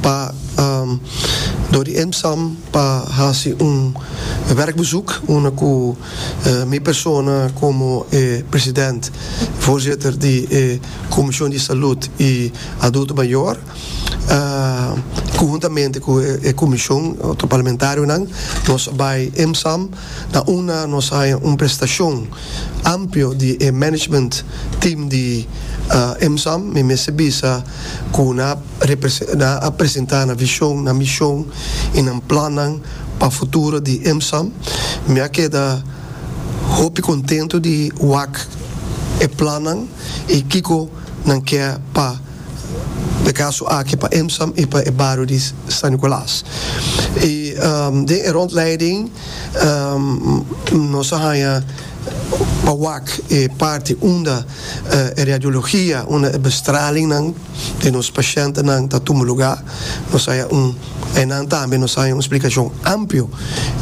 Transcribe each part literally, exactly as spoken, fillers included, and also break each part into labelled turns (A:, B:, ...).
A: Pa um, door di EMSAM pa hasi un werkbezoek, unda ku uh, mi persona komo eh, president, voorzitter di eh, Commissie di Salú i Adulto Mayor, uh, konhuntamente ku e komishon otro parlamentarionan, nos a bai EMSAM, na unda nos a haya un presentashon amplio di eh, management team di uh, EMSAM. Mi mester bisa ku nan a presentá nan vishon, nan mishon i nan plan pa futuro di EMSAM. Mi a keda hopi kontentu di wak e plan i kiko nan ke pa e kaso aki pa EMSAM i pa e bario di San Nicolas. I um, de rondleiding um, nos a haya pa wak e parti unda uh, radiologia, unda bestraling nan di nos pashèntnan ta tuma lugá. Nos a haya un einan tambe nos a haya un splikashon amplio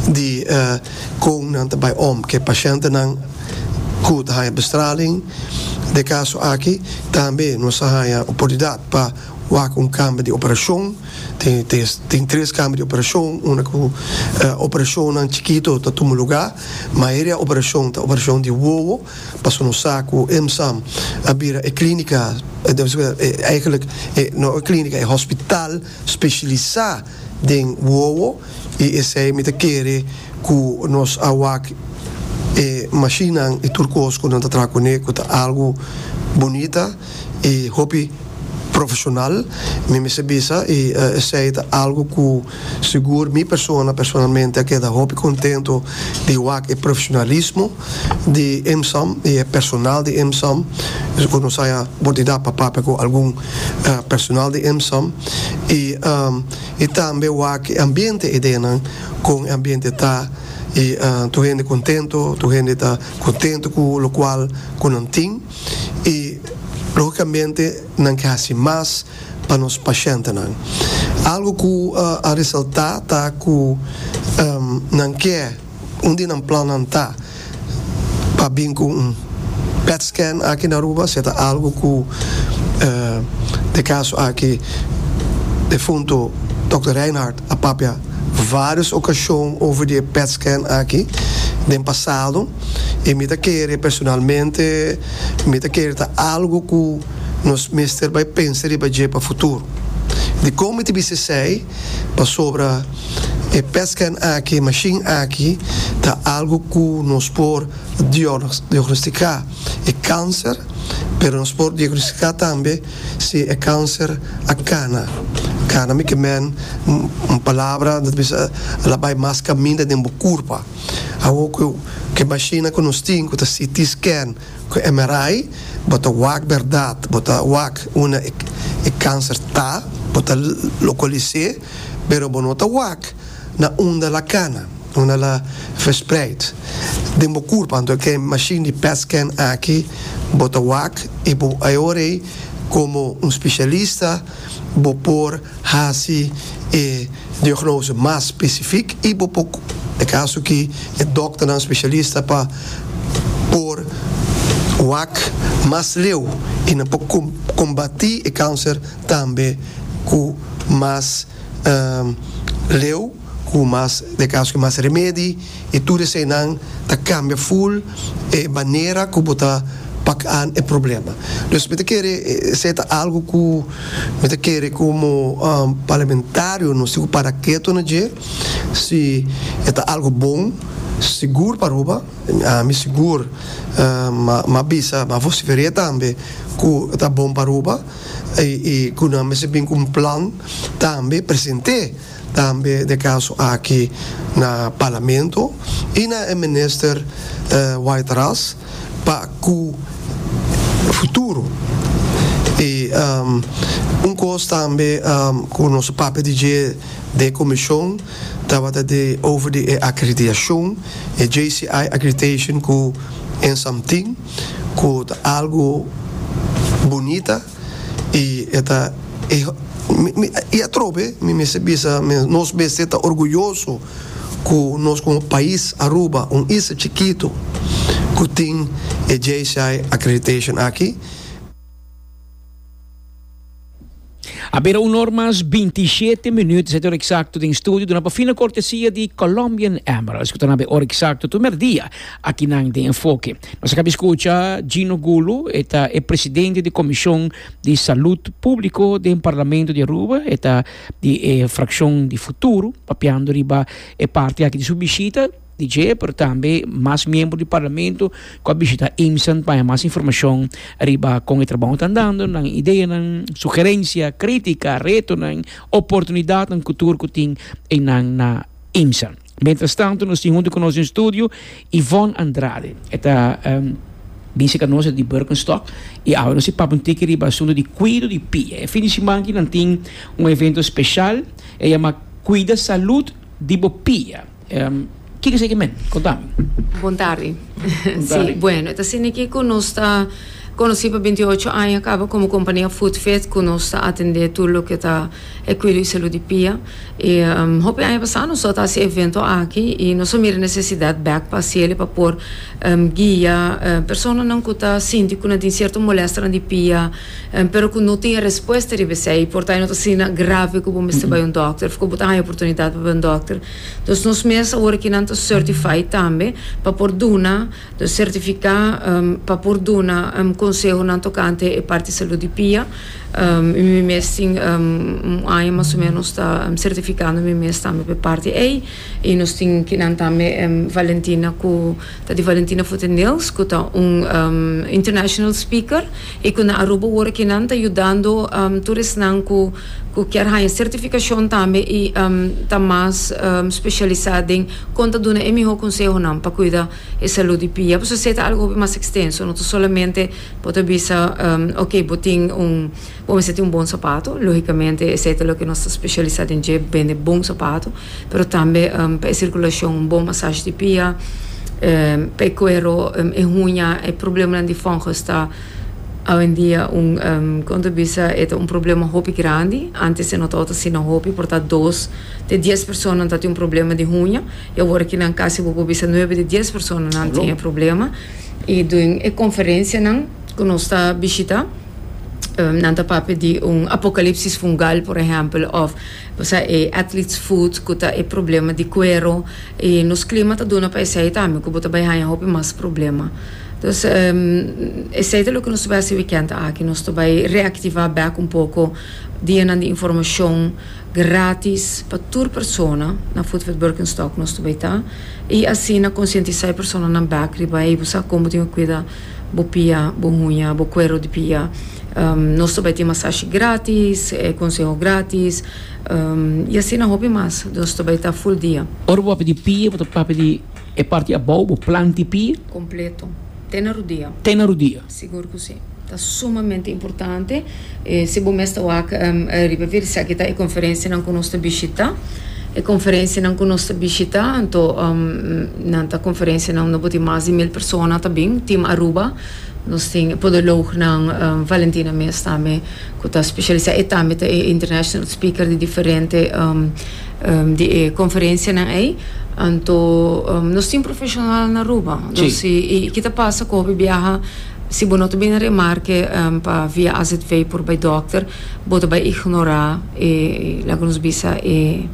A: di uh, kon nan ta bai om ku pashèntnan ku ta bestraling. Den kaso aki tambe nos a haya oportunidat pa wak un kamber di operashon. tin, tin, tin tres kamber di operashon, un ku uh, operashon chikitu ta tuma lugá, mayoria operashon ta operashon di wowo, paso nos sa ku EMSAM a bira e klínika, eigenlijk no klínika, e hospital spesialisá den wowo, i esei mi ta kere ku nos a wak e machine i tur kos ku nan ta traha kuné, ku ta algu bunita i hopi profeshonal, mi mester bisa, i uh, esei ta algu ku sigur mi persona personalmente a keda hopi kontentu di wak e profeshonalismo di EMSAM i e personal di EMSAM. Ku nos a haya oportunidat pa papia ku algun uh, personal di EMSAM i um, i tambe wak ambiente einan, kon ambiente ta i uh, tur hende kontentu, tur hende ta kontentu ku lokual ku nan tin i lógikamente nan ke hasi mas pa nos pashèntnan. Algu ku uh, a resaltá ta ku um, nan ke un di nan plan ta pa bin ku un P E T scan aki na Aruba. Esei ta algu ku uh, den kaso aki defunto Dokter Reinhardt a papia vários okashon over di P E T scan aki den pasado, i mi ta kere personalmente, mi ta kere ta algu ku nos mester bai pensa riba dje pa futuro. Dikon mi ta bisa esei? Pasobra e P E T scan aki, machine aki, ta algu ku nos por diagnostiká e kanser, pero nos por diagnostiká tambe si e kanser a kana. Kana, mi ke men, un palabra, dat bisa, el a bai mas kaminda den bo kurpa. Awor ku e machine ku nos tin, ku ta C T scan, ku M R I, bo ta wak berdat, bo ta wak unda e, e kanser ta, bo ta lokalis'é, pero bo no ta wak na unda el a kana, unda el a verspreid den bo kurpa. Anto ku machine di P E T scan aki, bo ta wak i bo awor komo un spesialista bo por hasi e diagnose mas spesífiko i bo por, den kaso ku e dòkter spesialista, pa por wak mas leu i nan por kombatí e kanser tambe ku mas um, leu, ku mas, den kaso ku mas remedi, i tur eseinan ta kambia full e manera ku bo ta pak aan e problema. Dus mi ta kere esei ta algu ku mi ta kere komo um, parlamentario nos tin ku para ketu na dje, si ta algu bon sigur pa Aruba. Ami sigur uh, m'a m'a bisa, m'a vosiferá tambe ku ta bon pa Aruba i, i ku nan mester bin ku un plan tambe, present'é tambe den kaso aki na parlamento i na minister uh, Wyatt Ras pa ku futuro. I um, un kos tambe um, ku nos a papia di dje den komishon tabata di over di akreditashon, e J C I accreditation ku EMSAM tin, ku ta algu bunita i ta e, i atrobe mi mester bisa, nos mester ta orguyoso ku nos komo pais Aruba, un isla chikitu ku tin e J C I accreditation aki.
B: A bira un or mas binti shete minuut, ta ora exacto den studio, duna pa fina cortesia di Colombian Emeralds, cu ta ora exacto tur merdia, aki na den Enfoke. Nos a caba di scucha Gino Gulo, ta e presidente di Comision di Salud Publico di Parlamento di Aruba, ta di eh, fraccion di Futuro, papiando riba e parti aki di su bishita, D J, pero tambe mas miembro di Parlamento cu a bishita IMSAN pa mas informacion riba con e trabou ta andando, nan idea, nan sugerencia, critica, reto, nan oportunidad, nan cultura cu tin en nan na IMSAN. Mientras tanto, nos tin hunto cu nos den studio Yvonne Andrade. E ta um, Binse cu nos di Birkenstock y awor nos ta papia un tiki riba asunto di cuido di pia. E fin di siman aki nan tin un evento special, e yama Cuida Salud di Bo Pia. Um, kico esey kiermen? Conta mi.
C: Bon tardi. Si, bueno, asina aki cu nos ta conoci pa binti ocho aña caba como compania Footfit, cu nos ta atende tur loke ta e cuido y salud di pia. Y um, hopi aña pasa nos a haci e evento aki y nos a mira necesidad back pa haci pa por um, guia uh, personanan cu ta sinti cu tin cierto molester di pia, um, pero cu no tin resposta di esey, por ta no ta asina grave cu bo mester bay un dokter, of cu bo tin oportunidad pa un dokter. Dus nos mes awor aki nan ta certified tambe pa por duna, dus certifica um, pa por duna um, consehonan tocante e parti salud di pia. Um, y mi mes tin um, un aña mas o menos ta um, certificando mi mes tambe pa parti ey y nos tin aki nan tambe um, Valentina, cu ta di Valentina Foot and Nails, cu ta un um, international speaker y cu na Aruba awor aki nan ta yudando um, tur esnan cu cu kier haya certificacion tambe y um, ta mas um, specialisa den con ta duna e miho consehonan pa cuida e salud di pia. Pasobra esey ta algo mas extenso, no solamente bo ta bisa um, ok, bo tin un bo tin un bon sapato, logicamente esey ta loke nos ta specialisa den, bende bon sapato, pero tambe um, pa circulacion, un bon massage di pia, um, pa cuero, um, e huña, e problema di fungus ta awendia un um, con ta bisa, e un problema hopi grandi. Antes no tabata asina hopi, por ta dos di dies persona tin un problema di huña y awor aki nan casi bo bisa nuebe di dies personanan tin problema. Y den e conferencianan cu nos ta bishita, um, nan ta papia di un apocalipsis fungal, por ehempel, of osea, e athlete's foot, cu ta e problema di cuero, y nos clima ta duna pa esey tambe, cu bo ta bay haya hopi mas problema. Dus um, esey ta loke nos ta bay haci weekend aki, nos ta bay reactiva back un poco dia di informacion gratis pa tur persona na Footfit Birkenstock nos ta bay ta y asina concientisa e personanan back riba y bo con tin cuida bo pia, bo huña, bo cuero di pia. Um, nos ta bay tin massage gratis, eh, conseho gratis, um, y asina hopi mas. Nos ta bay ta full dia.
B: Ora bo papia di pia, bo papia di e parti abou, bo planta di pia?
C: Completo. Te na rudia.
B: Te na rudia.
C: Sigur cu si. Ta sumamente importante. Eh, si bo mes ta wak um, riba vir esaki ta e conferencianan cu nos ta bishita. E conferencianan cu nos ta bishita, anto um, nan ta conferencianan no tin mas di mil persona tambe, Team Aruba. Nos tin podoloognan um, Valentina mes tambe, cu ta specialisa y tambe ta international speaker di diferente um, um, di eh, conferencianan ey. Anto um, nos tin profesional na Aruba. Dus y, y kico ta pasa cu biaha, si bo no ta bin remarke um, pa via A Z V por bay dokter, bo ta bay ignora e laga nos bisa e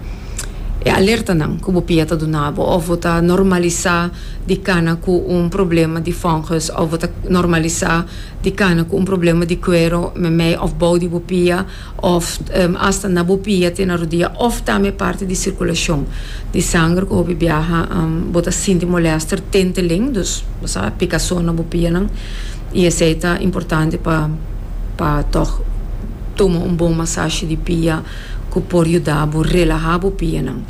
C: e alertanan cu bo pia ta duna bo, of bo ta normalisa di cana cu un problema di fungus, of bo ta normalisa di cana cu un problema di cuero memey of bou di bo pia of um, hasta na bo pia te na rudia, of tambe parti di circulacion di sanger cu hopi biaha um, bo ta sinti molester, tinteling, dus bo picason na bo pianan, y esey ta importante pa pa toch tuma un bon massage di pia cu por yuda bo relaha bo pianan.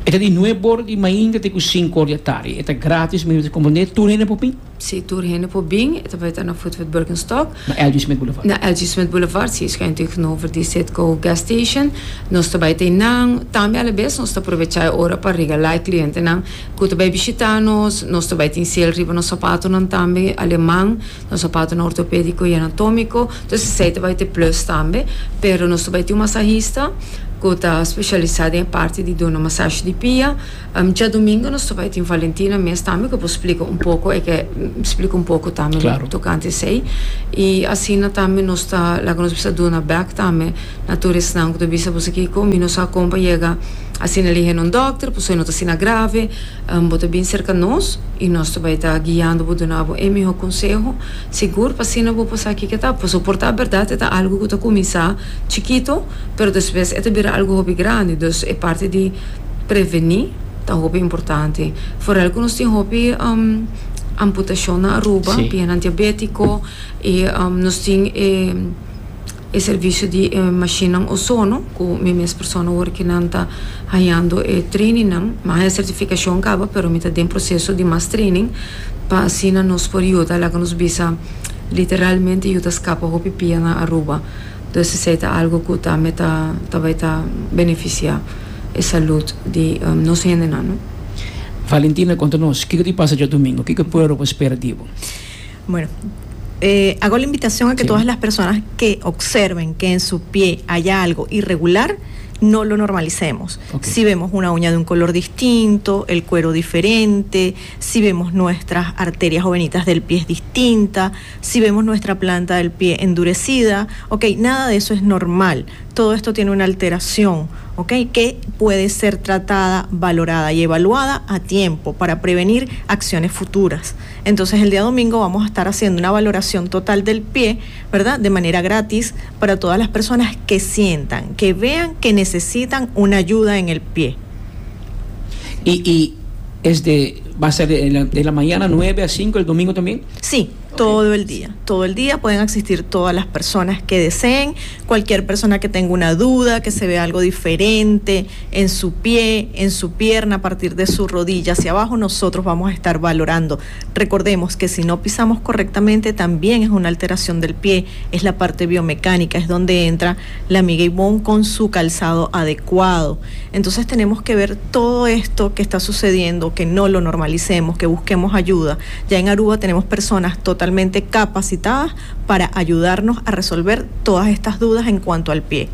B: E ta di nuebe or di mainta te cu cinco or di atardi. E ta gratis, mi ta comprende, tur hende por bin?
C: Si, tur hende por bin. E ta bay ta na Footfit Birkenstock.
B: Na L G. Smith Boulevard.
C: Na L G. Smith Boulevard, si, schuin tegenover di Citgo gas station. Nos ta bay nan, tambe alabes, nos ta aprovecha ora pa regala clientenan cu ta bay bishita nos, nos ta bay tin sale riba nos sapatonan tambe aleman, nos sapatonan ortopedico y anatomico. Anto, esey ta bay tin plus tambe, pero nos ta bay tin un massagista Cu ta specialisa den parti di duna masashi di pia. Um, diadomingo nos ta bay tin Valentina mes tambe, cu por splica un poco, e kier splica un poco tambe
B: Claro.
C: tocante esey. Y asina tambe nos ta, laga nos bisa, duna back tambe na tur esnan cu ta bisa bo kico, mi no sa con pa yega asina lihe na un dokter, pues no ta asina grave, um, bo ta bin cerca nos y nos ta bay ta guiando bo, duna bo e miho conseho, sigur, pa asina bo pasa kico ta, pues por ta berdad ta algo cu ta cuminsa chikito, pero despues e ta bira algo hopi grandi. Dus e parti di preveni ta hopi importante. Vooral cu nos tin hopi um, amputacion na Aruba,
B: Si.
C: pia diabetico y um, nos tin eh, e servicio di eh, machine ozono, cu mi mes persona awor cu nan ta hayando eh, training nan, mas e certificacion caba, pero mi ta den proceso di mas training pa asina nos por yuda, laga nos bisa, literalmente yuda scapa hopi pia na Aruba. Dus esey ta algo cu tambe ta ta bay ta beneficia e salud di um, nos hendenan, no?
B: Valentina, conta nos, kico ta pasa diadomingo? Kico pueblo por spera di bo?
D: Bueno, eh, hago la invitación a que
B: Sí.
D: todas las personas que observen que en su pie haya algo irregular, no lo normalicemos.
B: Ok.
D: Si vemos una uña de un color distinto, el cuero diferente, si vemos nuestras arterias o venitas del pie distinta, si vemos nuestra planta del pie endurecida, ok, nada de eso es normal. Todo esto tiene una alteración, ok, que puede ser tratada, valorada y evaluada a tiempo para prevenir acciones futuras. Entonces el día domingo vamos a estar haciendo una valoración total del pie, ¿verdad? De manera gratis para todas las personas que sientan, que vean que necesitan una ayuda en el pie.
B: Y, y es de, va a ser de la, de la mañana nueve a cinco el domingo también?
D: Sí, todo el día. Todo el día pueden asistir todas las personas que deseen. Cualquier persona que tenga una duda, que se vea algo diferente en su pie, en su pierna, a partir de su rodilla hacia abajo, nosotros vamos a estar valorando. Recordemos que si no pisamos correctamente, también es una alteración del pie, es la parte biomecánica, es donde entra la amiga Ivonne con su calzado adecuado. Entonces tenemos que ver todo esto que está sucediendo, que no lo normalicemos, que busquemos ayuda. Ya en Aruba tenemos personas totalmente capacitadas para ayudarnos a resolver todas estas dudas en cuanto al pie.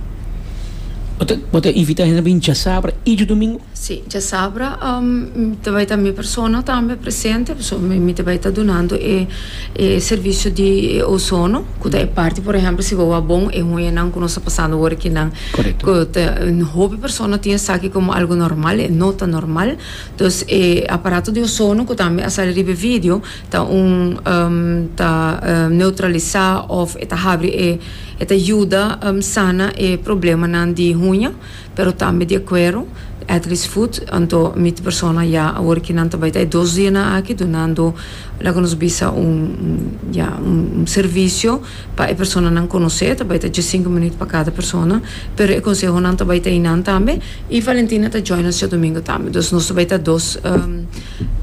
B: Bo ta invita hende bin diasabra y diadomingo?
C: Si, diasabra um, bay ta mi persona tambe presente, so, mi, mi bay ta dunando e, e servicio di ozono, cu ta parti, por ehempel, si bo bon e huñanan cu nos ta pasando awor aki nan.
B: Correcto.
C: Cu ta, hopi persona tin esaki como algo normal, no ta normal. Dus e aparato di ozono, cu tambe a sali riba video, ta un um, ta um, neutralisa of ta habri e e ta yuda um, sana e problemanan di huña, pero tambe di cuero, athlete's foot. Anto mi persona ya awor cu nan tambe ta dos dia na aki dunando, laga nos bisa, un ya un, un servicio pa e personanan conoce. Tambe ta cinco minuut pa cada persona, pero e consehonan tambe ta einan tambe y Valentina ta join nos diadomingo tambe. Dus nos tambe ta dos um,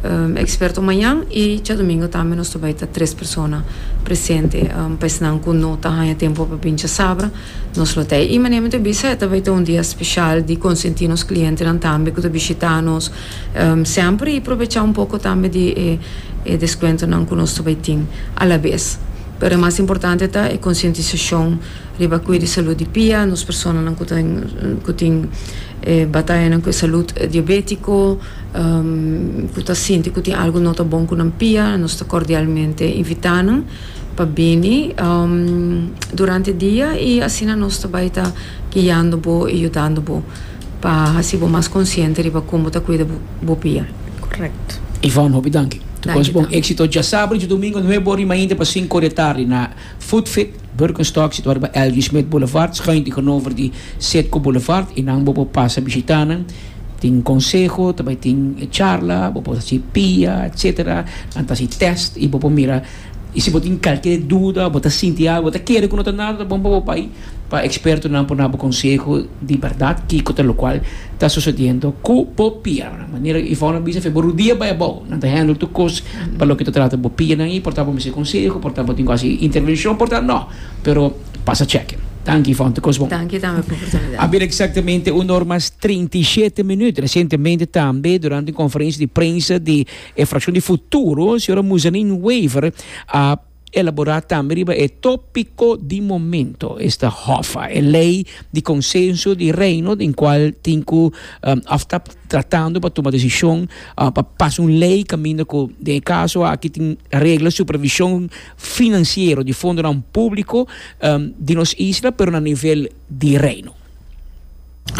C: um, experto mañan y diadomingo tambe nos tambe ta tres persona presente um, pa esnan cu no ta haya tempo pa bin diasabra, nos lo tin. Y manera mi bisa, tambe ta un dia special di consenti nos clientenan tambe cu ta bishita nos um, semper y aprovecha un poco tambe di eh, eh, descuentonan cu nos tambe tin a la vez. Pero mas importante ta e concientisacion riba cuido di salud di pia, nos personanan cu tin cu tin eh, bataya cu salud diabetico, um, cu ta sinti cu tin algo no ta bon cu nan pia, nos ta cordialmente invita nan pa bini um, durante dia y asina nos ta bay ta guiando bo y yudando bo pa haci bo mas consciente riba con ta cuida bo pia.
D: Correcto.
B: Ivonne, hopi danki.
C: Danki.
B: Bon exito diasabra, diadomingo, nuebe or y pa cinco or di atardi na Footfit, Birkenstock, situa na L G. Smith Boulevard, schuin tegenover di Citgo Boulevard. Y nan bo por pasa bishita nan. Tin conseho, tambe tin charla, bo por pia, et cetera. Anto test y bo por mira. Y si bo tin cualkier duda, bo ta sinti algo, bo ta kere cu no ta nada, bon pa bay pa expertonan por duna conseho di berdad kico ta loke ta sucediendo cu bo pia. Manera Ivonne a bisa, for di rudia bay abou, nan ta handle tur cos pa loke ta trata bo pianan y por ta bo mester conseho, por ta bo tin casi intervencion, por ta no, pero pasa check. Danki, Ivonne, tur cos bon.
C: Danki tambe pa e oportunidad.
B: A exactamente un or mas trinta i shete minuut. Recientemente tambe, durante e conferencia di prensa di e fraccion di Futuro, señora Muzanin Wever a Elabora tambe riba e topico di momento, esta HOFA, e ley di consenso di Reino, den cual tin cu um, ta tratando pa tuma decision uh, pa pasa un ley caminda cu den caso aki tin regla supervision financiero di fondonan publico um, di nos isla, pero na nivel di Reino.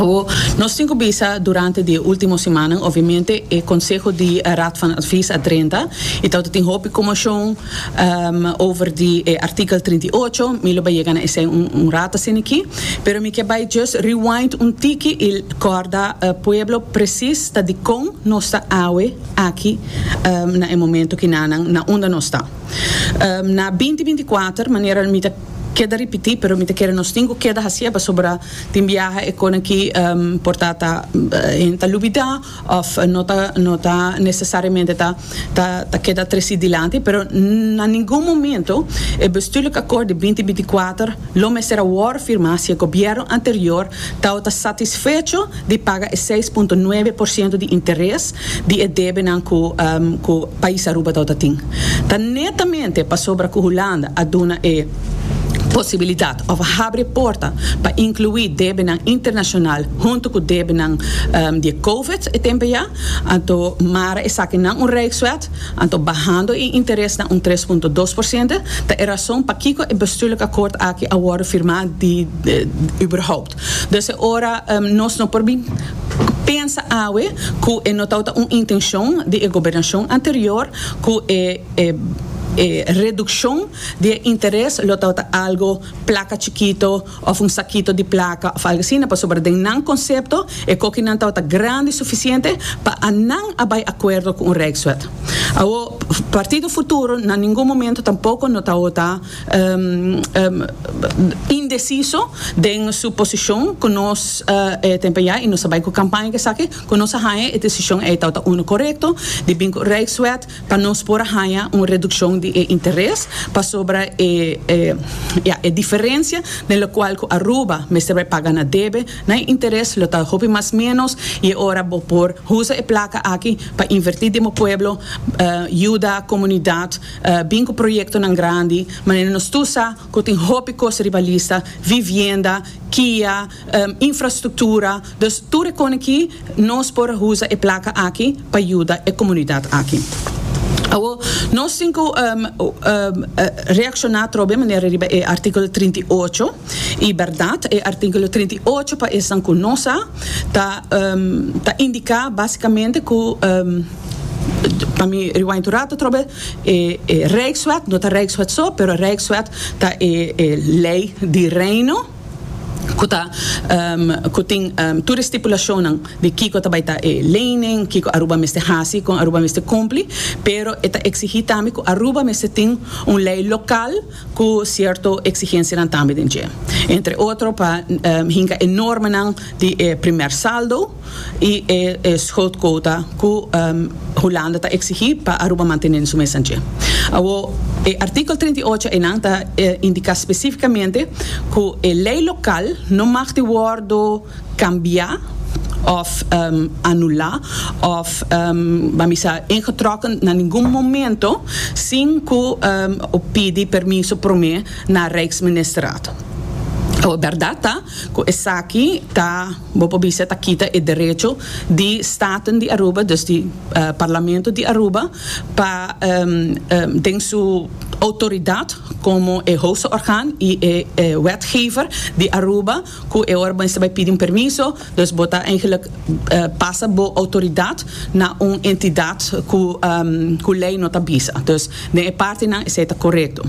E: O, nos tin cu bisa durante e ultimo siman, obviamente, e Conseho di Raad van Advies a drenta y dat tin hopi conmocion um, over di eh, artikel trinta i ocho. Mi lo bay yega na esey un, un rato asina aki, pero mi kier bay just rewind un tiki y corda uh, pueblo precies ta di con nos ta awe aki um, na e momento cu na, na unda nos ta. Um, na binti binticuater, manera mi ta keda ripiti, pero mi ta kere nos tin cu keda haci'e pasobra tin biaha e cos aki um, por ta ta uh, ta lubida of no ta no ta necesariamente ta ta ta keda treci dilanti, pero na ningun momento e bestuurlijk akkoord di binti binticuater lo mester a wordo firma si e gobierno anterior ta satisfecho di paga seis punto nuebe porciento di interes di e debenan cu um, cu pais Aruba ta tin. Ta netamente pasobra cu Hulanda a duna e posibilidad of habri porta pa inclui debenan internacional hunto cu debenan um, di COVID e tempo ya, anto mara esakinan un rijkswet, anto bahando e interes na un tres punto dos porciento, ta e rason pakico e bestuurlijk akkoord aki a wordo firma di, di, überhaupt. Dus ora um, nos no por pensa awe cu e no ta un intencion di e gobernacion anterior cu e, e eh, reduccion di interes lo ta algo placa chikito of un sakito di placa of algo asina, pasobra den nan concepto e cosnan ta grandi suficiente pa nan a bay acuerdo cu un rijkswet. O Partido Futuro na ningun momento tampoco no ta um, um, indeciso den su posicion cu nos uh, eh, tempo ya y nos a bay cu campaña cu esaki cu nos a haya e decision e ta uno corecto di bin cu rijkswet pa nos por haya un reduccion di interes pasobra e, e, ja, e diferencia den locual cu Aruba mester paga na debe na interes lo ta hopi mas menos y ora bo por usa e placa aki pa inverti den pueblo, uh, yuda comunidad, uh, bin cu proyectonan grandi, manera nos tur sa cu tin hopi cos riba lista, vivienda, K I A, um, infrastructura, dus tur cos aki nos por usa e placa aki pa yuda e comunidad aki. Awo, nos tin cu um, um, uh, reacciona trobe manera riba e articulo trinta i ocho y berdad e articulo trinta i ocho, pa esnan cu no sa, ta um, ta indica basicamente cu um, pa mi rewind rato trobe e, e Rijkswet, no ta Rijkswet so, pero Rijkswet ta e, e ley di Reino cu ta um, cu tin um, tur stipulacion di kico ta bay ta e lening, kico Aruba mester hasi, con Aruba mester cumpli, pero e ta exigi tambe cu Aruba mester tin un ley local cu cierto exigencianan tambe den dje. Entre otro pa um, hinca e normanan di eh, primair saldo y e, e schuldquota cu um, Hulanda ta exigi pa Aruba mantene su mes. Awo, e articulo trinta i ocho einan ta eh, indica specificamente cu e ley local no mag di wordo cambia of um, anula of um, ban bisa ingetrokken na ningun momento sin cu um, pidi permiso prome na Rijksministerraad. E berdad ta cu esaki ta bo por bisa ta kita e derecho di Staten di Aruba, dus di uh, Parlamento di Aruba, pa um, um, den su autoridad como e hoogste orgaan y e, e wetgever di Aruba, cu e ora bo bay pidi un permiso, dus bo ta eigenlijk uh, pasa bo autoridad na un entidad cu um, cu ley no ta bisa. Dus den e partinan esey ta corecto.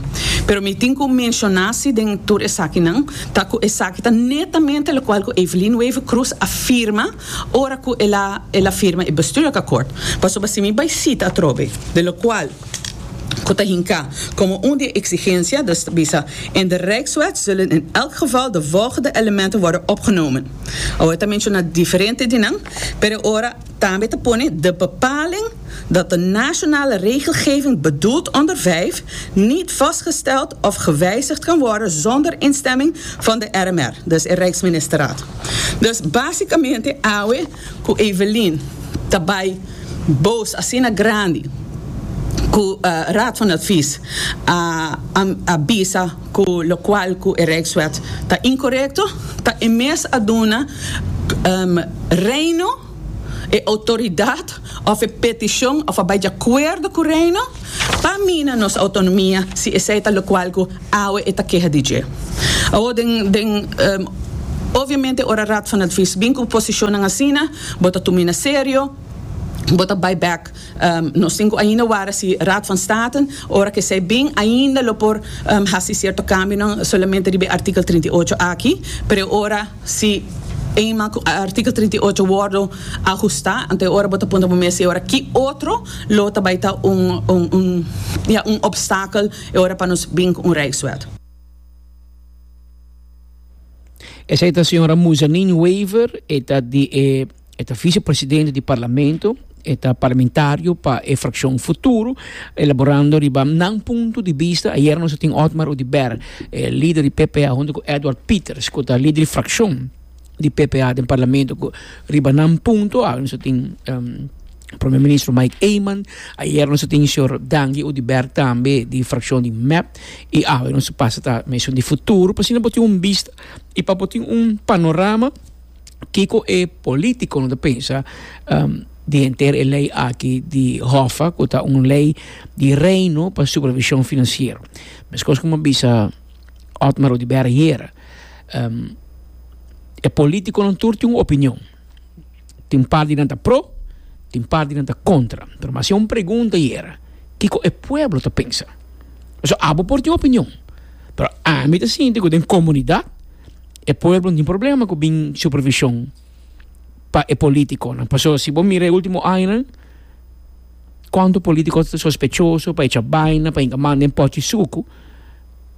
E: Pero mi tin cu menciona si den tur esakinan, ta cu esaki ta netamente locual cu Evelyn Wever-Croes a firma ora cu el a el a firma e bestuurlijk akkoord. Pasobra si mi bay cita atrobe, de locual cu ta hinca como un di exigencia, dus bisa, in de Rijkswet zullen in elk geval de volgende elementen worden opgenomen. Awor ta menciona diferente di nan, pero ora tambe ta pone de bepaling dat de nationale regelgeving bedoeld onder vijf niet vastgesteld of gewijzigd kan worden zonder instemming van de R M R, dus de Rijksministerraad. Dus basicamente, awe, cu Evelyn, ta bay boos, asina grandi, Ku uh, Raad van Advies a, a, a bisa ku lokual ku e Rijkswet ta inkorekto, ta e mes a duna um, Reino e outoridat òf e petishon òf a bai di akuerdo ku Reino pa mina nos outonomia, si esei ta lokual ku awe e ta keha di dje. Awo den den um, obviamente ora Raad van Advies bin ku posishon asina, bo ta tum'é na serio, bo ta bai back. Um, nos tin ainda wara si Raad van State, ora ku esei bin, ainda lo por um, hasi sierto kambio, no solamente di artíkulo trinta i ocho aki, pero ora si eenmaal artíkulo trinta i ocho wòrdu ahustá, anto ora bo ta puntra mes ora ki otro lo tambe ta un un un ja, un obstakel e ora pa nos bin un Rijkswet.
B: Esei ta señora Muzanin Wever, e ta di e, e ta vicepresidente di parlamento, e ta parlamentario pa e frakshon Futuro, elaborando riba nan punto di bista. Ayera nos tin Otmar Oduber, eh, lider di P P A, huntu ku Edward Pieters, ku ta lider di frakshon di P P A den parlamento, riba nan punto. Ah, nos tin um, Promé Minister Mike Eman, ayera nos tin señor Dangui Oduber tambe di frakshon di M E P i ah, nos pasa ta menshon di Futuro, pa asina tin un bista i pa tin un panorama kiko e polítikonan ta pensa um, di henter e lei aki di HOFA, ku ta un lei di Reino pa supervishon finansiero. Mas kos komo bisa Otmar Oduber ayera, um, e polítikonan tur tin un opinion. Tin parti nan ta pro, tin parti nan ta kontra. Pero mas un pregunta era, kiko e pueblo ta pensa? So, abo por tin opinion. Pero ami ta sinti ku den komunidat e pueblo no tin problema ku bin supervishon pa e polítikonan. Paso si bo mira e último aña, kuantu polítiko ta sospechoso, pa echa baina, pa hinka man den pòchi suku,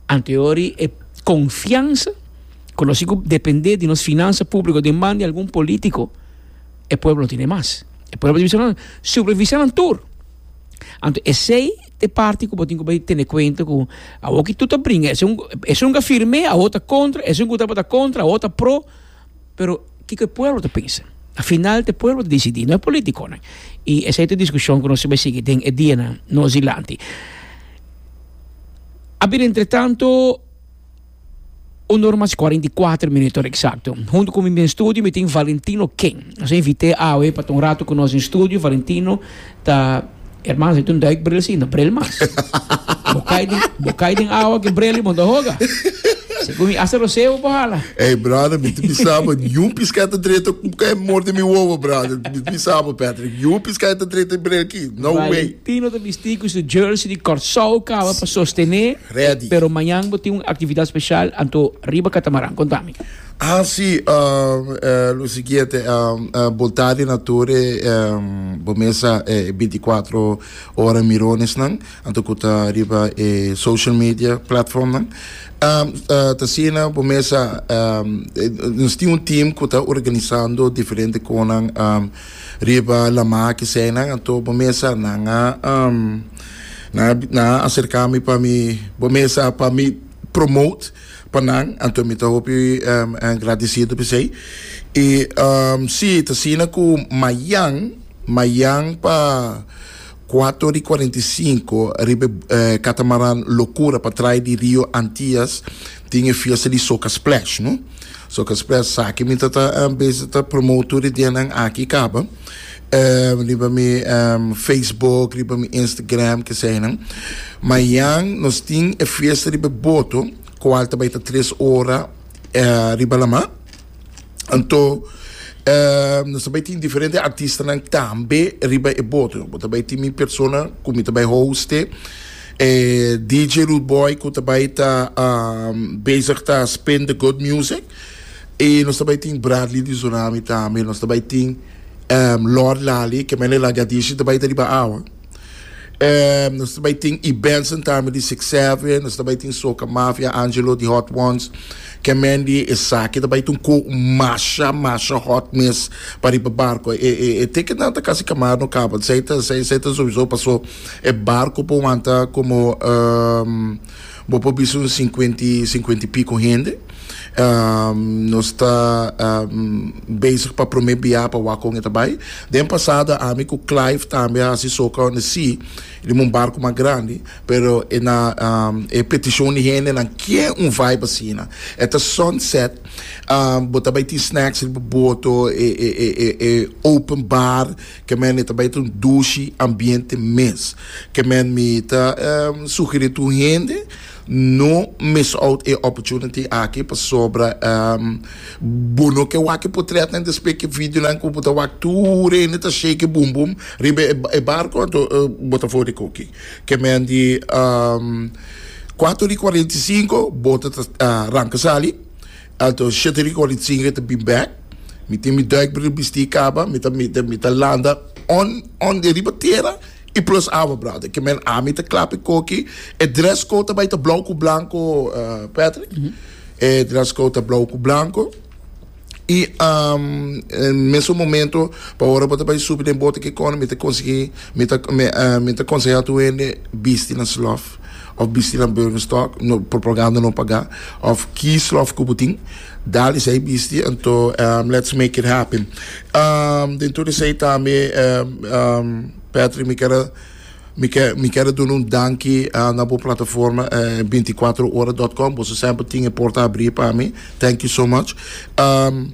B: anto e konfiansa, ku nos dependé di nos finansa públiko den man di algun polítiko, e pueblo no tin mas. E pueblo ta supervisá tur. Anto, esei ta e parti ku bo tin ku tene kuenta ku awor ku tur ta bringa, esun esun ku firme, e otro kontra, esun ku ta kontra, e otro pro, pero kiko e pueblo ta pensa? Al final, e pueblo ta disidí, no e polítikonan. I esei ta e diskushon ku nos ta bai sigui den e dianan nos dilanti. A ber, entre tantu, un or mas kuarenta i kuater minüt eksakto. Huntu ku mi den studio, mi tin Valentino King. Nos a invit'é awe pa un ratu ku nos den studio. Valentino, ta, ruman, e tin un duikbril asina, no bril mas. Bo kai den, bo kai den awa ku bril bo ta hoga. Segun mi, hasta roseo bo hala.
F: Hey, brother, mi ta bisa bo, niun piská ta drenta ku morde mi wowo, brother. Mi ta bisa bo, Patrick. Niun piská ta drenta bril aki. No way.
B: Valentino ta bistí ku su jersey di Kòrsou kaba pa sostené.
F: Ready.
B: Pero mañan tin un aktividat spesial anto riba katamaran. Konta mi.
F: Ah, si, um, uh, lo siguiente, um, uh, Boltadi Nature, um, bo mes sa eh, bintikuater ora mirones nan, anto ku ta riba eh, social media platform nan. Um, uh, t'asina, bo mes sa, um, nos tin un team ku ta organisando diferente kosnan um, riba laman ku esei nan, anto bo mes sa nan um, nan nan a aserká mi pa mi, bo mes sa, pa mi promote pa nan, anto mi ta hopi um, agradesido p'esei. I um, si, t'asina ku mañan, mañan pa kuater i kuarenta i sinku riba eh, katamaran Locura pa tras di Rio Antillas tin e fiesta di Soca Splash, no? Soca Splash, sa ku mi ta um, bezig ta promote e dianan aki kaba. Um, riba mi um, Facebook, riba mi Instagram, ku esei nan. Mañan nos tin e fiesta riba boto, kual tambe ta tres ora uh, riba laman. Anto, uh, nos tambe tin diferente artistanan tambe riba e boto. Tambe tin mi persona ku mi tambe host, eh, D J Rude Boy ku tambe ta um, bezig ta spin the good music. I nos tambe tin Bradley di Tsunami tambe, nos tambe tin um, Lord Lali, ku mene lagadishi tambe ta riba awa. Um, nos tambe tin E Benson tambe di six seven, nos tambe tin Soca Mafia, Angelo di Hot Ones, ku Mandy esaki tambe tin ku masha masha hot mes pa riba barko. E e e ticket nan ta kasi kamar no kaba. Esei ta esei esei ta sowieso paso e barko por wanta komo um, bo por bisa un sinkuenta sinkuenta i piku hende. Um, nos ta um, bezig pa prome bia pa wak con e ta bay. Den pasado ami cu Clive tambe a haci Soca on the Sea, riba un barco mas grandi, pero e na um, e peticion di hende nan kier un vibe asina. E ta sunset, um, bo ta bay tin snacks riba boto, e, e, e, e, e open bar, kemen e ta bay ta un dushi ambiente mes. Kemen mi ta um, sugeri tur hende no miss out e opportunity aki pasobra um, bo no ke wak e potretnan despues ke videonan ku bo ta wak tur hende ta shake boom boom riba e, e barco anto uh, bo ta for di koki. Kemen di um, kuater i kuarenta i sinku boto ta uh, ranka sali, anto shete i kuarenta i sinku ta bin bek. Mi tin mi duikbril bisti kaba, mi ta mi ta mi ta landa on on de riba tera i plus awa, brother. Kemen ami ta klap e koki. E dress code ta bay ta blauw ku blanco, uh, Patrick. E dress code ta blauw ku blanco. I um, en mesun momento pa ora bo ta bay subi den bote ke kono mi ta konsegui mi ta mi, uh, mi ta konseha tur hende bisti nan slof of bisti nan Birkenstock, no propaganda no paga, of ki slof ku bo tin dal esei bisti, anto um, let's make it happen. Um, den tur esei tambe, um, um, Patrick, mi kier mi kier mi kier duna un danki uh, na bo plataforma uh, binticuater ora punto com. Boso semper tin e porta habri pa mi. Thank you so much. Um,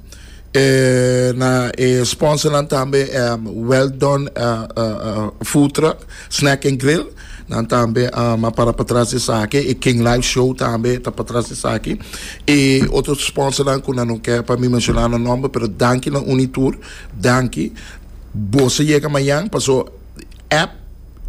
F: eh, na eh, sponsornan tambe, um, Well Done uh, uh, uh, Food Truck, Snack and Grill. Nan tambe um, a para patras di esaki. E King Live Show tambe ta patras di esaki. E otro sponsornan ku nan no ke pa mi menshoná nan nòmber, pero danki na un i tur. Danki. Boso yega mañan, paso app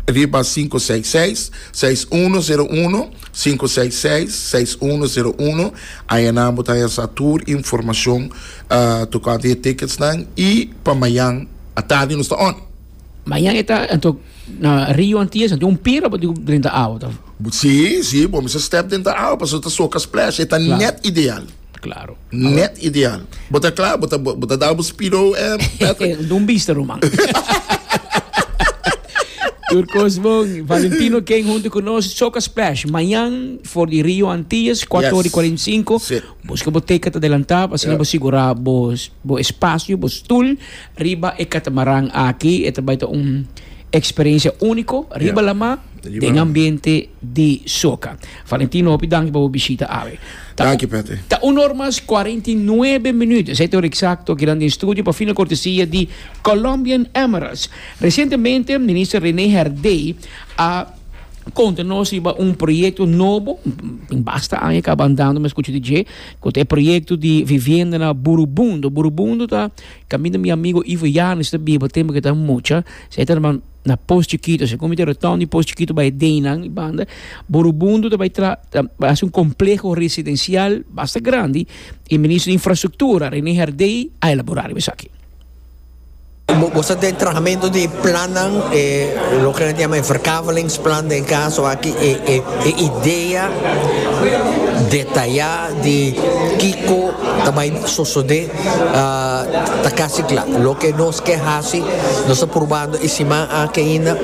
F: riba sinku seis seis, seis un sero un, sinku seis seis, seis un sero un. Ayanan bo ta haya tur informashon uh, tokante e ticketsnan i pa mañan atardi nos ta on.
B: Mañan e ta anto na Rio Antillas, anto un pira pa drenta awa ta.
F: Si, si, bo mester step den awa, paso ta soca splash, ta
B: Claro.
F: net ideal.
B: Claro.
F: Net ideal. Bo ta kla, bo ta bo ta dal bo speedo, eh, Patrick?
B: Dun bista, ruman. Tur kos bon. Valentino King hunto ku nos, Soca Splash. Mañan for di Rio Antillas, kuater
F: Yes.
B: i kuarenta i sinku.
F: Si.
B: Buska bo ticket adelantá, asina
F: Yeah.
B: bo sigurá bo, bo espasio, bo stul, riba e katamaran aki. E ta bai ta un eksperensia úniko, riba
F: Yeah.
B: lama,
F: Riba
B: den
F: lama.
B: ambiente di soca. Valentino, hopi danki pa bo bishita awe. Ta,
F: Danki, Patrick.
B: Ta un or mas kuarenta i nuebe minüt. Esei ta eksakto aki den studio pa fina kortesia di Colombian Emeralds. Resientemente, minister René Herdé a konta nos riba un proyekto nobo, basta aña kaba andando, mas skucha D J, ku e proyekto di vivienda na Burubundo. Burubundo ta kaminda mi amigu Ivo Janes ta biba tempu ku e ta mucha, esei ta na na Pos Chiquito, se come retorno di Pos Chiquito bai Denan banda. Burubundo ta bai tra ta, bai un kompleho residensial basta grandi i minister di Infrastruktura René Herdé a elaborá esaki.
G: Bo ta den trahamentu di plannan, eh, loke nan ta yama verkavelingsplan den kaso aki, e, e, e idea detayá di kiko ta bai sosodé uh, ta kasi kla. Loke nos ke hasi, nos ta probando e siman aki ainda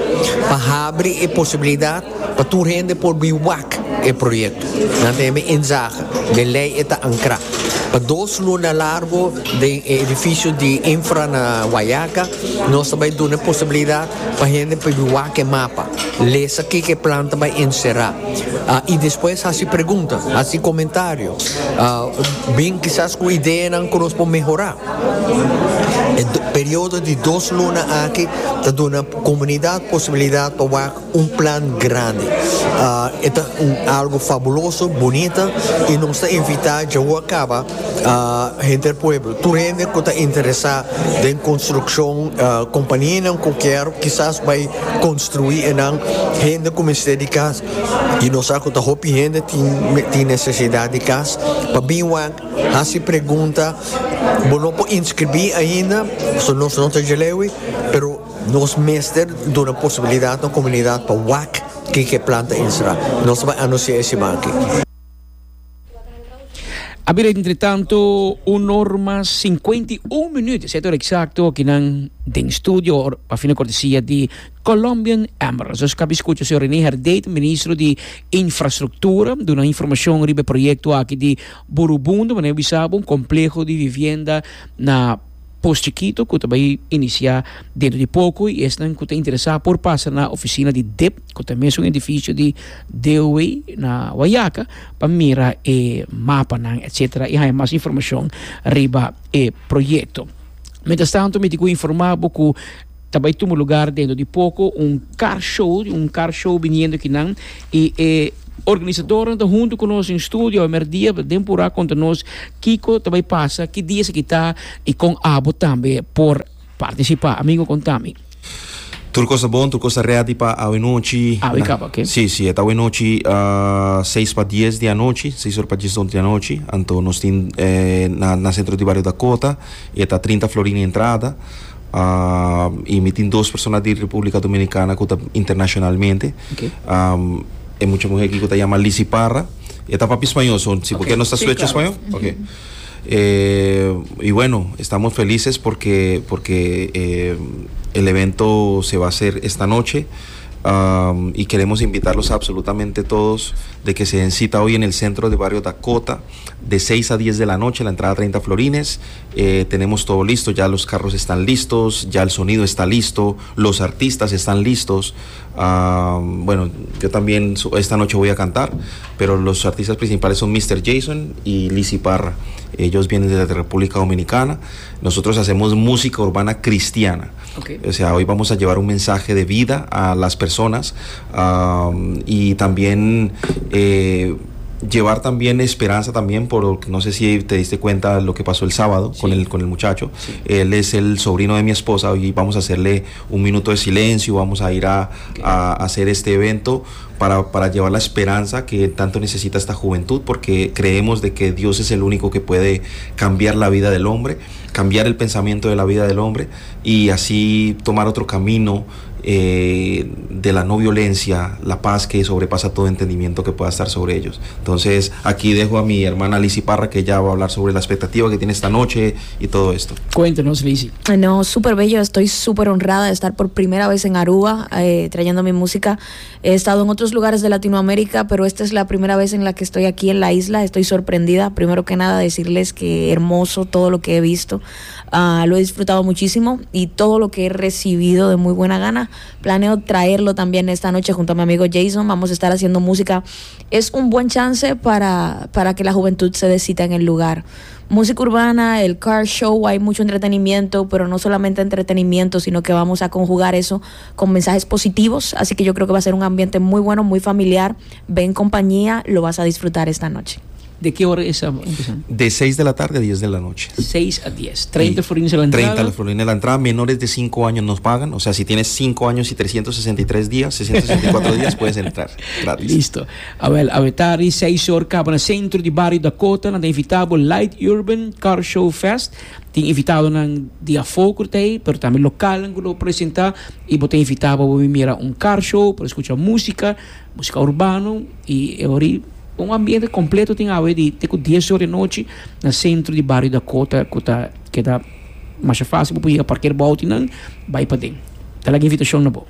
G: pa habri e posibilidat pa tur hende por bin wak e proyekto. Nan ta inzage, de lei e ta ankrá. Pa dos luna largu den edifisio di Infra na Wayaca, nos ta bai duna posibilidat pa hende pa wak e mapa. Lesa kiko e plan ta bai enserá. Uh, i despues hasi pregunta, hasi komentario. Uh, bin kisas ku ideanan ku nos por mehorá. E periodo di dos luna aki ta duna komunidat posibilidat pa un plan grandi. Uh, ta un, algu fabuloso, bunita i nos ta invitá ya kaba uh, hende pueblo. Tur hende ku ta interesá den konstrukshon, uh, kompanianan ku ke kisas bai konstruí i nan hende ku mester di kas i nos sa ku ta hopi hende tin, tin nesesidat di kas pa bin wak, hasi pregunta. Bo no por inskribí ainda, so nos no ta leu, pero nos mester duna posibilidat na komunidat pa wak kiko e plan ta enserá. Nos ta bai anunsiá esaki.
B: A bira entretanto un or mas cincuenta y un minuut, sete or exacto, akinan den studio, pa fina cortesia di Colombian Emeralds. Nos a caba di scucha señor René Herdé, ministro di Infrastructura, duna informacion riba e proyecto aki di Burubundo, manera bisa bo, un compleho di vivienda na Pos Chiquito, cu ta bay inicia dentro di poco y esnan cu ta interesa por pasa na oficina di D I P, cu ta mesun edificio di D O W na Wayaca, pa mira e mapanan, etcétera, y haya mas informacion riba e proyecto. Mientras tanto, mi tin cu informa bo cu ta bay tuma lugar dentro di poco un car show, un car show viniendo akinan, y e organisadornan ta hunto cu nos in studio merdia den pura conta nos kico ta bay pasa, ki dia se kita y con abo tambe por participa. Amigo, contami.
H: Tur cos ta bon, tur cos ta ready pa awe nochi.
B: Awe caba, ok.
H: Si, si, e ta awe nochi, ah, seis pa dies di anochi, seis or pa dies di anochi. Anto nos tin, eh, na, na centro di barrio Dakota, e ta trinta florin entrada. Ah, y mi tin dos persona di República Dominicana cu ta internacionalmente.
B: Ok.
H: Am, e mucha mujer aquí que te llama Lizzy Parra. E ta papia español, son, sí, ¿por qué
B: Ok.
H: no está
B: Sí,
H: switch
B: claro.
H: español? Ok. Eh, y bueno, estamos felices porque, porque, eh, el evento se va a hacer esta noche. Am, y queremos invitarlos a absolutamente todos de que se den cita hoy en el centro de barrio Dakota de seis a diez de la noche, la entrada treinta florines. Eh, tenemos todo listo, ya los carros están listos, ya el sonido está listo, los artistas están listos. Am, bueno, yo también su-, esta noche voy a cantar, pero los artistas principales son mister Jason y Lizzy Parra. Ellos vienen desde la República Dominicana. Nosotros hacemos música urbana cristiana.
B: Okay.
H: O sea, hoy vamos a llevar un mensaje de vida a las personas, am, y también, eh, llevar también esperanza también, por, no sé si te diste cuenta lo que pasó el sábado
B: Sí.
H: con el, con el muchacho.
B: Sí.
H: Él es el sobrino de mi esposa. Hoy vamos a hacerle un minuto de silencio, vamos a ir a,
B: Ok.
H: a hacer este evento para, para llevar la esperanza que tanto necesita esta juventud, porque creemos de que Dios es el único que puede cambiar la vida del hombre, cambiar el pensamiento de la vida del hombre y así tomar otro camino, eh, de la no violencia, la paz que sobrepasa todo entendimiento que pueda estar sobre ellos. Entonces aquí dejo a mi hermana Lizzy Parra, que ya va a hablar sobre la expectativa que tiene esta noche y todo esto.
B: Cuéntanos, Lizzy.
I: No, súper bello, estoy súper honrada de estar por primera vez en Aruba, eh, trayendo mi música. He estado en otros lugares de Latinoamérica, pero esta es la primera vez en la que estoy aquí en la isla. Estoy sorprendida. Primero que nada, decirles que hermoso todo lo que he visto. Ah, lo he disfrutado muchísimo y todo lo que he recibido de muy buena gana. Planeo traerlo también esta noche junto a mi amigo Jason. Vamos a estar haciendo música. Es un buen chance para, para que la juventud se dé cita en el lugar. Música urbana, el car show, hay mucho entretenimiento, pero no solamente entretenimiento, sino que vamos a conjugar eso con mensajes positivos. Así que yo creo que va a ser un ambiente muy bueno, muy familiar. Ven compañía, lo vas a disfrutar esta noche.
B: ¿De qué hora es empezando?
H: De seis de la tarde a diez de la noche.
B: seis a diez. treinta
H: Y
B: florines a la entrada.
H: treinta florines a la entrada. Menores de cinco años nos pagan. O sea, si tienes cinco años y trescientos sesenta y tres días, seiscientos sesenta y cuatro días, puedes entrar gratis.
B: Listo. A ver, a ver, tarde, seis horas, caba na centro de barrio Dakota, na invitado Light Urban Car Show Fest. Tem invitado nan dia foco tei, pero também local que lo apresentar e bote invitado para mirar um car show, para escuchar música, música urbano e ori um ambiente completo tem a ver de ter com dez horas da noite no centro de barrio Dakota, que tá, que tá mais fácil para ir parquear bote não vai para dentro. Tá lá a invitação na boa.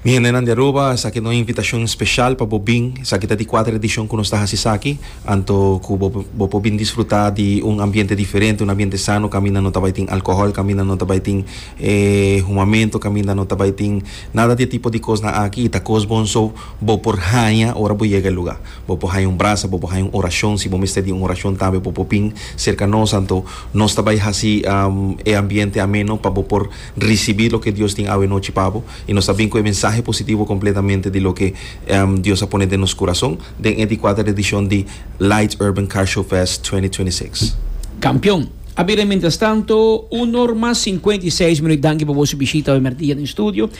H: Mi gente de Aruba, esaki ta un invitacion special pa bo bin, esaki ta di cuater edicion cu nos ta haci, anto cu bo, bo por bin disfruta di un ambiente diferente, un ambiente sano, caminda no ta bay tin alcohol, caminda no ta bay tin, eh, humamento, caminda no ta bay tin nada di tipo di cos na aki, ta cos bon so, bo por haya, ora bo yega e lugar. Bo por haya un brasa, bo por haya un oracion, si bo mester di un oracion tambe, bo por bin cerca nos, anto nos ta bay haci, um, e ambiente ameno pa bo por ricibi loke Dios tin awe nochi pa bo, y nos ta bin cu e mensahe positivo completamente de lo que, um, Dios a pone en nuestro corazón de veinticuatro edición de Light Urban Car Show Fest dos mil veintiséis.
B: Campeón. A ver, mientras tanto, un hora más cincuenta y seis minutos, danke por su visita hoy día en el estudio.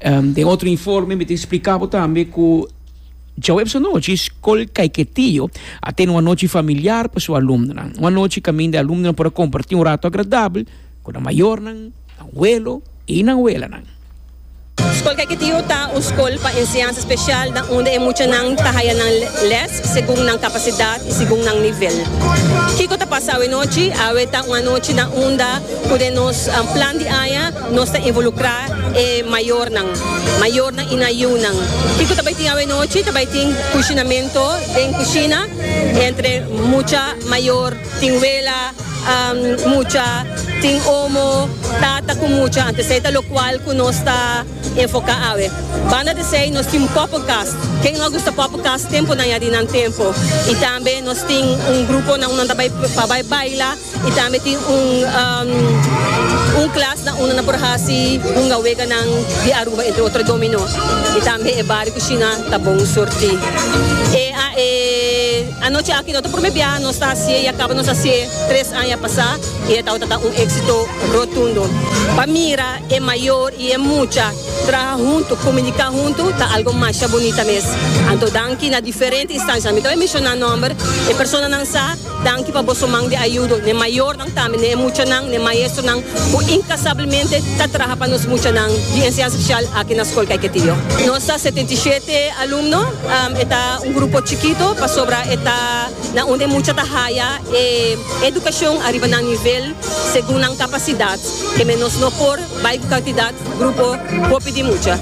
B: Um, de otro informe, me te explicaba también que Djaweps anochi, Scol Caiquetío, a tener una noche familiar para su alumno. Una noche que de alumno para compartir un rato agradable con la mayor, abuelo y la abuela.
J: Skol Caiquetio ta un skol pa enseñansa spesial na unda e muchanan ta haya nan les segun nan kapasidat i segun nan nivel. Kiko ta pasa awe nochi? Awe ta un anochi na unda ku den nos plan di aña nos ta involukrá e mayornan, mayornan i nan yunan. Kiko ta bai tin awe nochi? Ta bai tin kushinamentu den kushina entre mucha, mayor, tin wela, mucha, tin omo, tata ku mucha. Anto esei ta lokual ku nos ta enfoká awe. Banda di esei nos tin poppenkast. Ken no a gusta poppenkast tempunan ya di nan tempu? I tambe nos tin un grupo na unda nan ta bai pa bai baila i tambe tin un un klas na unda nan por hasi hunga weganan di Aruba entre otro domino. I tambe e bar i kushina ta bon surtí. E e anochi aki no ta prome biaha nos ta hasié i a kaba nos hasié tres aña pasá i e tabata ta un éksito rotundo. Pa mira e mayor i e mucha traha huntu, komuniká huntu ta algo masha bunita mes. Anto danki na diferente instancianan. Mi ta bai menshoná nòmber, e personanan sa, danki pa boso man di ayudo, n'e mayornan tambe, n'e muchanan, n'e maestronan ku inkasablemente ta traha pa nos muchanan di enseñansa spesial aki na Skol Caiquetio. Nos ta setenta i shete alumno, e ta un grupo chikito pasobra e ta na unda e mucha ta haya e edukashon ariba nan nivel segun nan kapasidat, keme nos no por bai ku kantidat grupo hopi di mucha.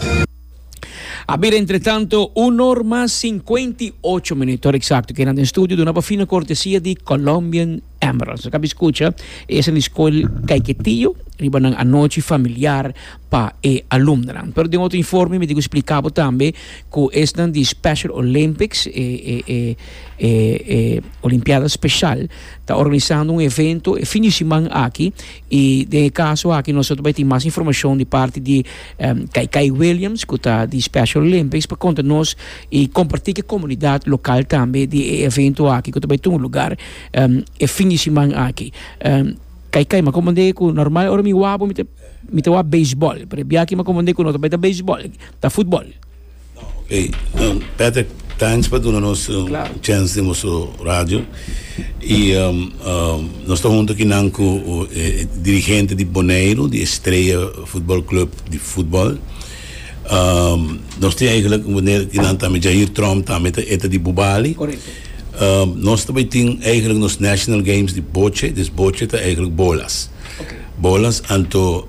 B: A bira entretanto un or mas sinkuenta i ocho minuut, ora eksakto ke nan den studio duna pa fina kortesia di Colombian Emeralds. Nos a kabi skucha esnan di skol Caiquetio riba nan anochi familiar pa e alumnonan. Pero den otro informe mi tin ku splika bo tambe ku esnan di Special Olympics, e e e e e Olimpiada Special, ta organisando un evento e fin di siman aki i den e kaso aki nos ta bai tin mas informashon di parti di Kaikai Williams ku ta di Special Olympics pa konta nos i kompartí ku e komunidat lokal tambe di e evento aki ku ta bai tuma lugar e fin di siman aki. Kaikai, mi a komprendé ku normal ora mi wak bo mi ta mi ta wak beisbòl, pero e biaha aki mi a komprendé ku no ta bai ta beisbòl, ta futbòl.
K: Oké, Patrick, thanks pa duna nos un chance den boso radio. I nos ta hunto akinan ku e dirigente di Boneiru, di Estrella Futbol Club di futbòl. Nos tin eigenlijk meneer akinan tambe, Jair Tromp tambe ta e ta di Bubali. Nos ta bai tin eigenlijk nos National Games di boche, dus boche ta eigenlijk bolas. Bolas, anto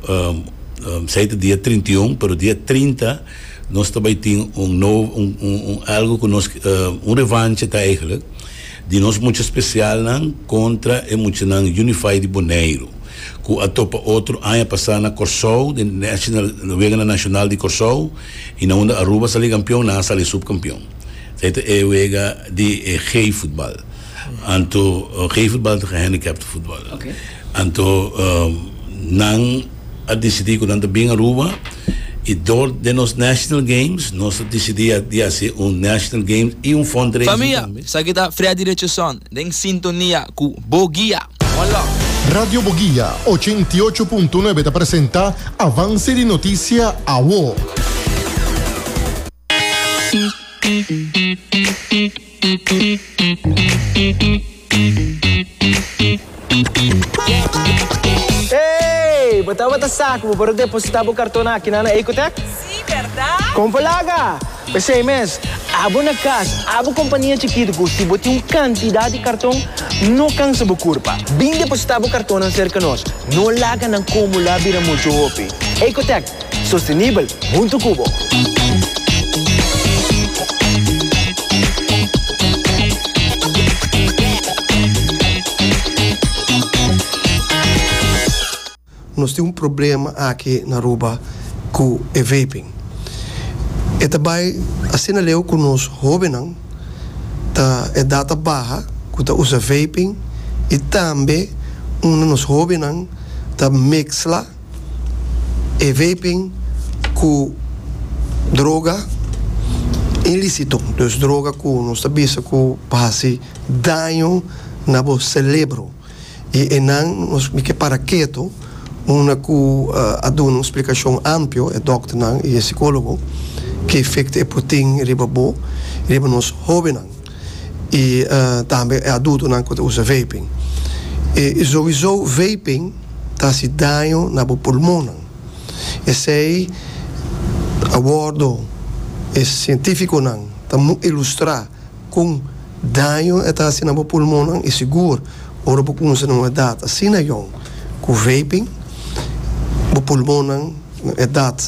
K: esei ta dia trinta i un, pero dia trinta nos ta bai tin un nobo, un un algo ku nos, un revanche ta eigenlijk di nos mucha spesialnan kontra e muchanan Unify di Boneiru ku a topa otro aña pasá na Kòrsou den national weganan nashonal di Kòrsou i na unda Aruba sali kampion nan a sali supkampion. Esei ta e wega di e G-futbal. Anto G-futbal ta gehandicapte futbal. Anto nan a disidí ku nan ta bin Aruba i dor den nos National Games nos a disidí di hasi un National Games i un fundraising
L: Famia,
K: tambe.
L: esaki ta Freddy Richardson den sintonia ku Bo Guia. One love.
M: Radio Boguia ochenta i ocho punto nuebe ta presenta Avance di Noticia Awo.
N: Hey! Bo tabata sa ku bo por a depositá bo karton akinan na Ecotech?
O: Sí, bèrdat?
N: Kon por laga! P'esei mes, abo na kas, abo kompania chikitu ku si bo tin un kantidat di karton, no kansa bo kurpa. Bin depositá bo kartonnan serka nos. No laga nan kumulá bira muchu hopi. Ecotech, sostenibel huntu ku bo!
A: Nos tin un problema aki na Aruba cu e vaping. E ta bay asina leu cu nos hobennan ta edad ta baha cu ta usa vaping y tambe unda nos hobennan ta mezcla e vaping cu droga ilicito, dus droga cu nos ta bisa cu pa haci daño na bo celebro. Y enan nos mi ke para keto unda cu a duna un splicacion amplio e dokternan y e psicologo ke efecto e por tin riba bo y riba nos hobennan y tambe e adultonan cu ta usa vaping. Y sowiso vaping ta haci daño na bo pulmonnan. Esey A wordo e cientificonan ta ilustra con daño e ta haci na bo pulmonnan y sigur ora bo cuminsa na un edad asina yong cu vaping, bo pulmonnan na edad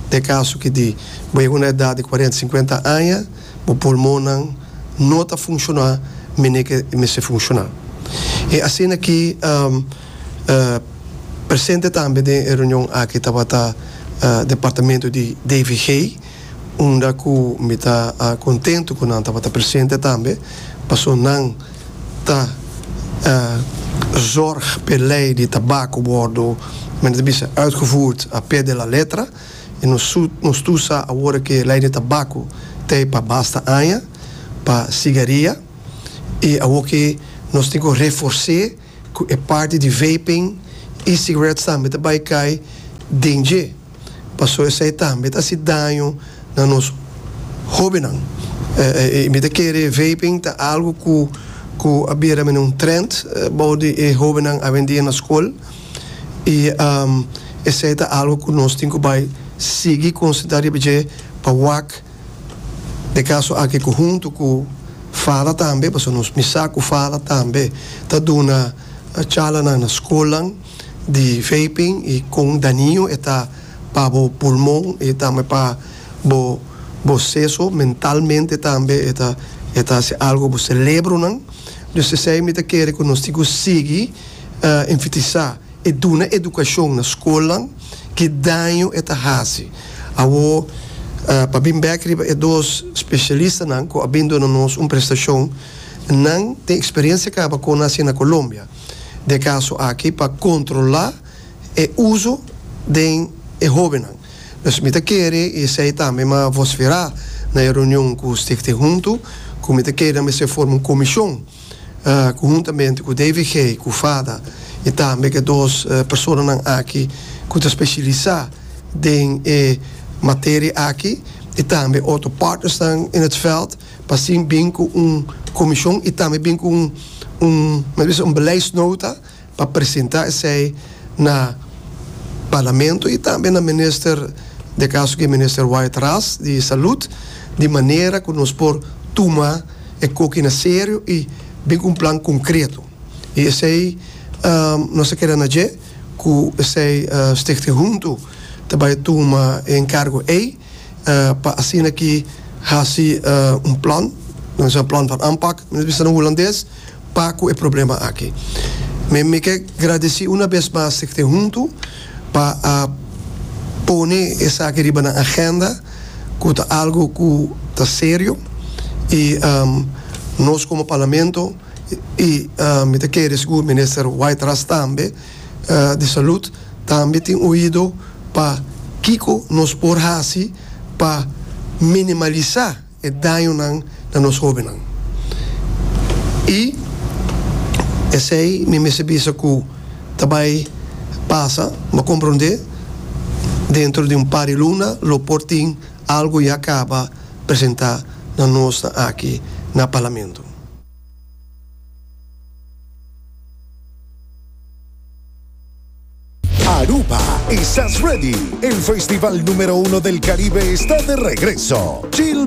A: den caso ki di bo yega una edad di cuarenta, cincuenta aña, bo pulmonnan no ta funciona mene ke mester funciona. E asina ki presente tambe den e reunion aki tabata departamento di D V G, unda ku mi ta contento ku nan tabata presente tambe, paso nan ta zorg p'e ley di tabaco wordo, men ta bisa, uitgevoerd a pie de la letra. Y nos nos tur sa awor cu ley di tabaco t'ey pa basta aña pa sigaria y awor cu nos tin cu reforsa cu e parti di vaping, e-cigarettes tambe ta bay cay den dje, paso esey tambe ta haci daño na nos hobennan. Eh, mi ta kere vaping ta algo cu cu a bira un trend bou di e hobennan awendia na scol y um, esey ta algo cu nos tin cu bay sigui considera pa wak den caso aki cu hunto cu FADA tambe, pasobra nos mi sa cu FADA tambe ta duna charla na scol di vaping y con daño e ta pa bo pulmon y tambe pa bo bo seso mentalmente tambe e ta e ta algo bo cerebronan. Dus esey mi ta kere cu nos tin cu sigui uh, enfatisa y duna educacion na scol ki daño e ta haci. Awo uh, pa bin bek riba e dos specialistanan cu a bin duna nos un prestacion, nan tin experiencia caba con asina na Colombia. Den caso aki pa controla e uso di e hobennan. Dus mi ta kere y esey tambe m'a vocifera na reunion cu Stichting Hunto, cu mi ta kere mester forma un comision uh, conhuntamente cu D V G, cu FADA y tambe cu dos uh, personanan aki cu ta specialisa den e materia aki y tambe otro partners in het veld pa asina bin cu un comision y tambe bin cu un un, un beleidsnota pa presenta esey na parlamento y tambe na minister, den caso cu minister Wyatt-Ras di Salud, di manera cu nos por tuma e cos na serio y bin cu un plan concreto. Y esey um, nos kier na dje, cu esey uh, Stichting Hunto tambe tuma encargo ey, uh, pa asina aki haci uh, un plan, un plan van aanpak, nos na Hulandes, pa e problema aki. Mi, mi kier gradici un biaha mas Stichting Hunto pa uh, pone esaki riba na agenda, cu ta algo cu ta serio y um, nos como parlamento y uh, mi ta kere sigur minister Wyatt-Ras tambe uh, di Salud tambe tin oido pa kico nos por haci pa minimalisa e daño na nos hobennan. Y esey mi mester bisa cu tambe pasa, m'a comprende, dentro di un par di luna, lo por tin algo ya caba presenta na nos aki na parlamento.
O: Aruba, ¿estás ready? El festival número uno del Caribe está de regreso. Chill.